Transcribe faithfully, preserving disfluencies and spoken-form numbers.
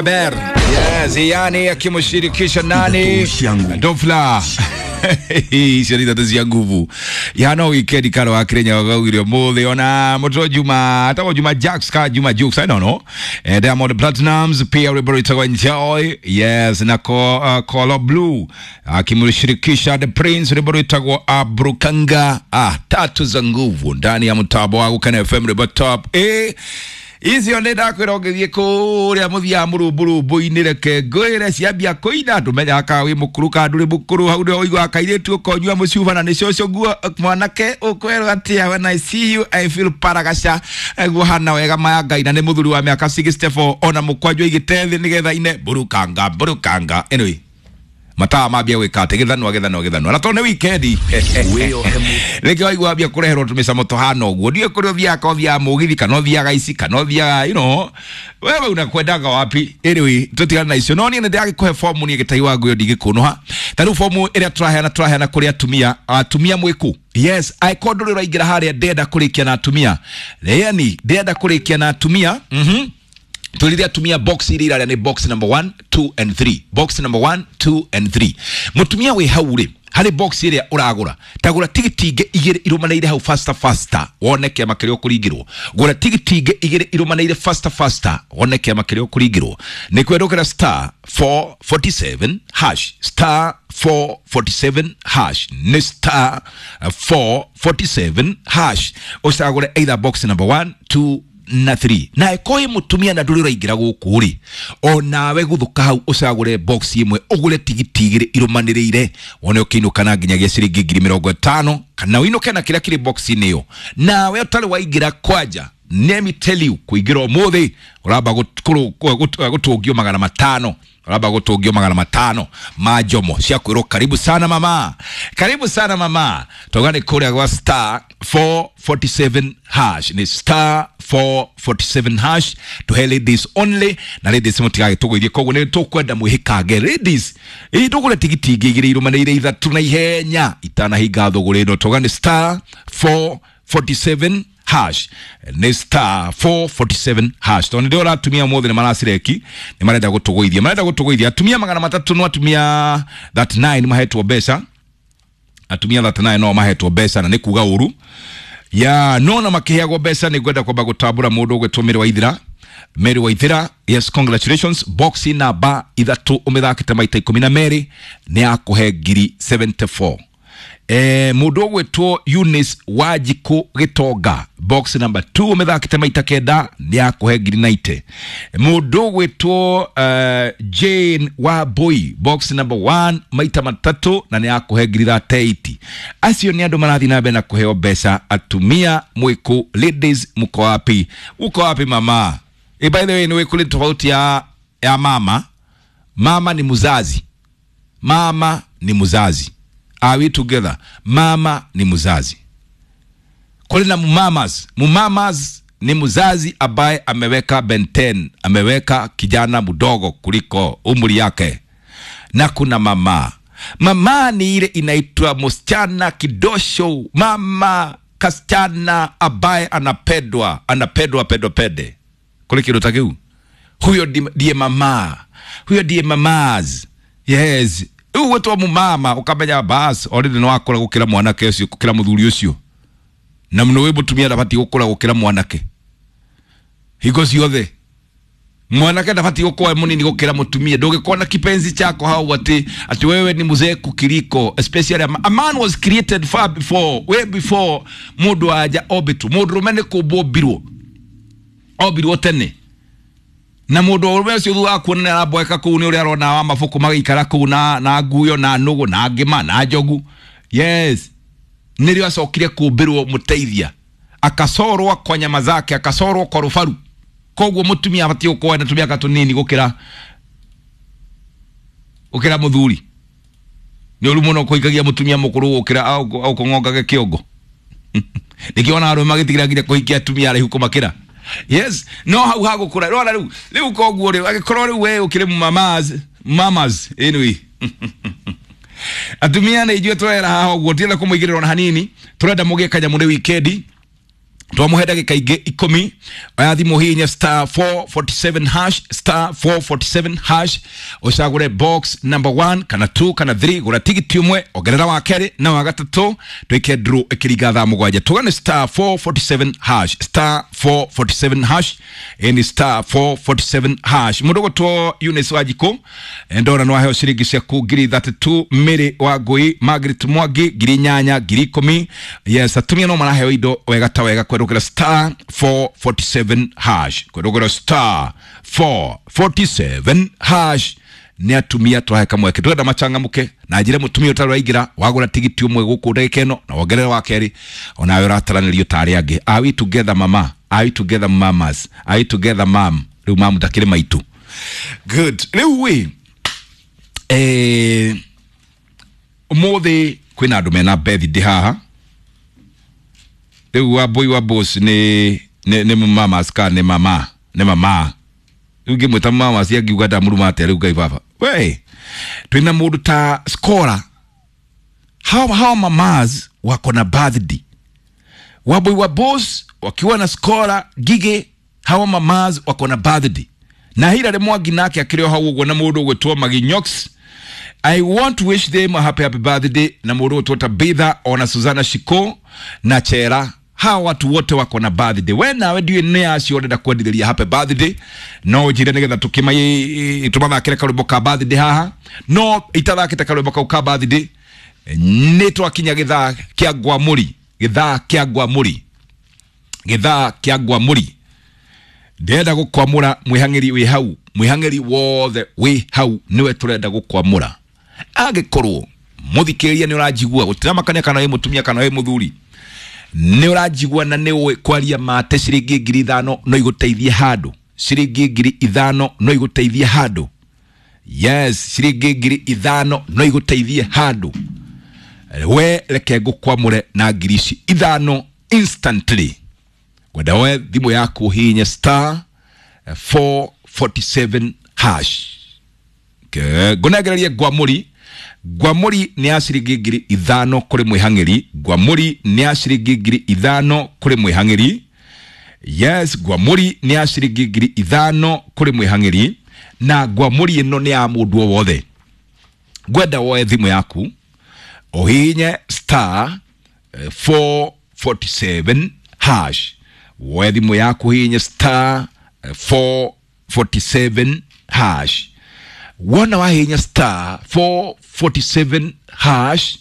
Ber. Yes, yani akimshirikisha nani? Dofla. Icio nĩ ithatũ cia nguvu yano wikendi karo wa Kenya wagaugire ũmũthĩ ona mũtũ Juma atagwo Juma Jacks ka Juma Jukes, I don't know. eh, Diamond Platnumz pia rwĩmbo rwĩtagwo Enjoy, yes, na ko, uh, Kolo Blue akimshirikisha The Prince rwĩmbo rwĩtagwo Abrukanga. Ah, tatu za nguvu ndani ya mtambo wa Gukana F M rwĩmbo top eh icio nä ndakwä ra å ngä thiä kå rä a må thiaga må rå mbå rå mbå-inä reke ngwä re ciambia kå ina ndå menyaga ka wä må kå rå ka ndå rä må kå rå hau nä waiguaga kairä tu å konyua må cuba na nä cåcå guo mwanake å kwerwo atä when I see you I feel paragaca guo hana wega maya ngai na nä må thuri wa mä aka sixty-four ona må kwanjå igä te thä nä getha ine mburukanga mburukanga. Anyway, mataa mambia gwä ka atä gä thanwa gä thanwa gä thanwa na tondå nä wikendi rä waigua ambia kå reherwo tå mä camo tå hana å guo ndiå kå rä å thiaga ka å thiaga må githi kana å thiaga ici kana å thiaga you know wewe unakwendaga wapi. Anyway, tũtigane na icio no niĩ nĩ ndĩragĩkũhe fomu niĩ gĩtai wa nguo ndingĩkũnũha ta rĩu fomu ĩrĩa tũraheana tũraheana kũrĩ atumia atumia mwĩkũ. Yes, angĩkorwo ndũrĩ ũraingĩra harĩa ndĩrenda kũrĩkia na atumia, yani ndĩrenda kũrĩkia na atumia mhm twĩrire atumia box iria iraria nĩ box number one, two and three, box number one, two and three. Mũtumia wĩ hau rĩ harĩ box ĩrĩa ũragũra tagũra tigiti ingĩ igĩrĩ irũmanĩire hau faster faster wone kĩama kĩrĩa ũkũringĩrwo. Gũra tigiti ingĩ igĩrĩ irũmanĩire faster faster wone kĩama kĩrĩa ũkũringĩrwo. Nĩ kwendũkĩra star four forty-seven hash, star four forty-seven hash, nĩ star four forty-seven hash ũcagũre either box number one, two na three. Na ĩkorwo wĩ mũtumia na ndũrĩ ũraingĩra gũkũ rĩ onawe gũthũka hau ũcagũre box ĩmwe ũgũre tigiti igĩrĩ irũmanĩrĩire wone ũkĩinũka na nginyagia ciringi ngiri mĩrongo ĩtano kana ũinũke na kĩrĩa kĩrĩ box-inĩ ĩyo. Nawe ũtarĩ waingĩra kwanja, let me tell you, kũingĩra ũmũthĩ ũramba gũtũngio magana matano, ũramba gũtũngio magana matano ma njomo cia kwĩrwo karibu sana mama, karibu sana mama. Tauga nĩ kũrĩa gwa star four forty-seven hash, nĩ star four forty-seven hash tuhe ladies only na ladies mũtigagĩtũgũithie koguo nĩ tũkwenda mwĩhĩkange ladies ĩ tũgũre tigiti ingĩ igĩrĩ irũmanĩrĩire ithatũ na ihenya itanahinga thũgũrĩ ĩno. Tauga nĩ star four forty-seven hash, nĩ star four forty-seven hash. Tondũ nĩ ndĩrona atumia ũmũthĩ nĩ maracireki nĩ marenda gũtũgũithia, marenda gũtũgũithia atumia magana matatũ no atumia thirty-nine mahetwo mbeca, atumia thirty-nine no mahetwo mbeca na nĩ kuga ũru ya no na makĩheagwo mbeca. Nĩ ngwenda kwamba gũtambũra mũndũ ũgwĩtwo Mary Waithira. Mary Waithira, yes, congratulations, box namba ithatũ ũmĩthakĩte maita ikũmi na merĩ nĩ yakũhe ngiri seventy-four. Eh, mũndũ ũgwĩtwo Eunice Wanjikũ Gĩtonga, box number two ũmĩthakĩte maita kenda nĩ yakũhe ngiri ninety. Mũndũ ũgwĩtwo uh, Jane Wambui, box number one maita matatũ na nĩ yakũhe ngiri thirty-eight. Acio nĩ andũ marathiĩ na mbere na kũheo mbeca. Atumia mwĩkũ, ladies, mko wapi? Uko wapi mama? Eh, by the way, nĩ kũrĩ tofauti ya, ya mama. Mama ni mzazi, mama ni mzazi. Are we together? Mama ni mzazi. Kule na mumamas. Mumamas ni mzazi ambaye ameweka benten, ameweka kijana mdogo kuliko umri yake. Na kuna mama. Mama ni ile inaitwa msichana kidosho, mama kasichana ambaye anapendwa, anapendwa pedo pede. Kule kidotakiu. Huyo ndiye mama. Huyo ndiye mamas. Yes. Uwe mumama ukamenya bas already no akora gukira mwanake ucio gukira muthuri ucio na muno wi mutumia ndabati gukura gukira mwanake hingo ciothe mwanake ndabati gukorwo munini gukira mutumia. Ndungikona kipenzi chako hau ati ati wewe ni mzee kukiliko, especially a, a man was created far before, way before mundu aja obitu mundu rume ni kumbwo mbirwo ombirwo tene na mundu urume ucio thutha kuona nĩ aramboeka kũu nĩ ũrĩa arona wa mabuku magĩikara kũu na na nguyo na nũgũ na ngĩma na njogu. Yes, nĩrĩo acokire kũmbĩrwo mũteithia akacorwo kwa nyama zake akacorwo kwa rũbaru. Koguo mũtumia abatiĩ gũkorwo na tũmĩaka tũnini gũkĩra gũkĩra mũthuri. Nĩ ũru mũno kũhikagia mũtumia mũkũrũ gũkĩra au kũng'ongage kĩongo. Nĩkĩo arũme magĩtigĩra nginya kũhikia atumia araihu kũmakĩra. Yes, no hau hagũkũra rora rĩu rĩu koguo rĩu angĩkorwo rĩu we ũkĩrĩ mamas mamas anyway atumia nĩ ithuĩ tũrera haha ũguo tienda kũmũigĩrĩra ona hanini tũrenda mũgĩe kanyamũ nĩ wikendi. Twamuhe ndagĩka ingĩ ikũmi. Oya thimũ, hihinya star four forty-seven hash, star four forty-seven hash, ũcagũre box number one kana two kana three. Gũra tigiti ũmwe, ongerera wa kerĩ na wa gatatũ, twĩke draw ĩkĩringa thaa mũgwanja. Tugane star four forty-seven hash, star four forty-seven hash, ĩni star four forty-seven hash. Mũndũ gũtwo Eunice Wanjikũ, ndona no aheo ciringi ciaku ngiri thirty-two. Mary wa Ngui, Margaret Mwangi ngiri inyanya, ngiri ikũmi. Yes, atumia no maraheo indo wega ta wega kwerũkĩra star four forty-seven hash, kwerũkĩra star four forty-seven hash. Nĩ atumia twahe kamweke, twenda machangamuke na njĩre mũtumia ũtarĩ waingĩra wagũra tigiti ũmwe gũkũ ndagĩka ĩno na wongerere wa kerĩ, onawe ũrataranĩrio ta arĩa angĩ. Are we together, mama? Are we together, mamas? Are we together, mam? Rĩu mam ndakĩrĩ maitũ. Good. Rĩu wĩ eh, ũmũthĩ kwĩna andũ mena birthday haha. Rĩu wa boy wa boss nĩ nĩ nĩ mamas ka nĩ mama? Nĩ mama. Rĩu ngĩmwĩta mamas angiuga ndamũruma atĩa? Rĩu Ngai baba we, twĩna mũndũ ta Scora. how, how mamas wako na birthday, Waboi wa Boss wakiwa na Scora Gige, hawa mamas wako na birthday na Hilary Mwangi nake akĩrĩ o hau ũguo na mũndũ ũgwĩtwo Maginyox. I want to wish them a happy happy birthday na mũndũ ũgwĩtwo Tabitha ona Susanna Shiko na Chera. Hawa watu wote wako na birthday. We nawe ndiũĩ nĩ acio ũrenda kwendithĩria happy birthday, no njĩre nĩgetha tũkĩma tũmathakĩre karwĩmbo ka birthday haha. No itathakĩte karwĩmbo kau ka birthday, nĩ twakinya gĩthaa kĩa ngwamũri, gĩthaa kĩa ngwamũri, gĩthaa kĩa ngwamũri. Ndĩrenda gũkwamũra mwĩhang'ĩri wĩ hau, mwĩhang'ĩri wothe wĩ hau nĩwe tũrenda gũkwamũra. Angĩkorwo mũthikĩrĩria nĩ ũranjigua, gũtiramakania kana wĩ mũtumia kana wĩ mũthuri, nĩ ũranjigua na nĩ ũĩ kwaria mate, ciringi ngiri ithano no igũteithie handũ, ciringi ngiri ithano no igũteithie handũ. Yes, ciringi ngiri ithano no igũteithie handũ. We reke ngũkwamũre na ngiri ici ithano instantly. Ngwenda we thimũ yaku ũhihinye star four forty-seven hash. Ngũnengererie ngwamũri. Ngwamũri nĩ ya ciringi ngiri ithano kũrĩ mwĩhang'ĩri. Ngwamũri nĩ ya ciringi ngiri ithano kũrĩ mwĩhang'ĩri. Yes, ngwamũri nĩ ya ciringi ngiri ithano kũrĩ mwĩhang'ĩri, na ngwamũri ĩno nĩ ya mũndũ o wothe. Ngwenda woe thimũ yaku ũhihinye star four forty-seven hash. Woe thimũ yaku ũhihinye star four forty-seven hash. Wona wahihinya star four forty-seven hash.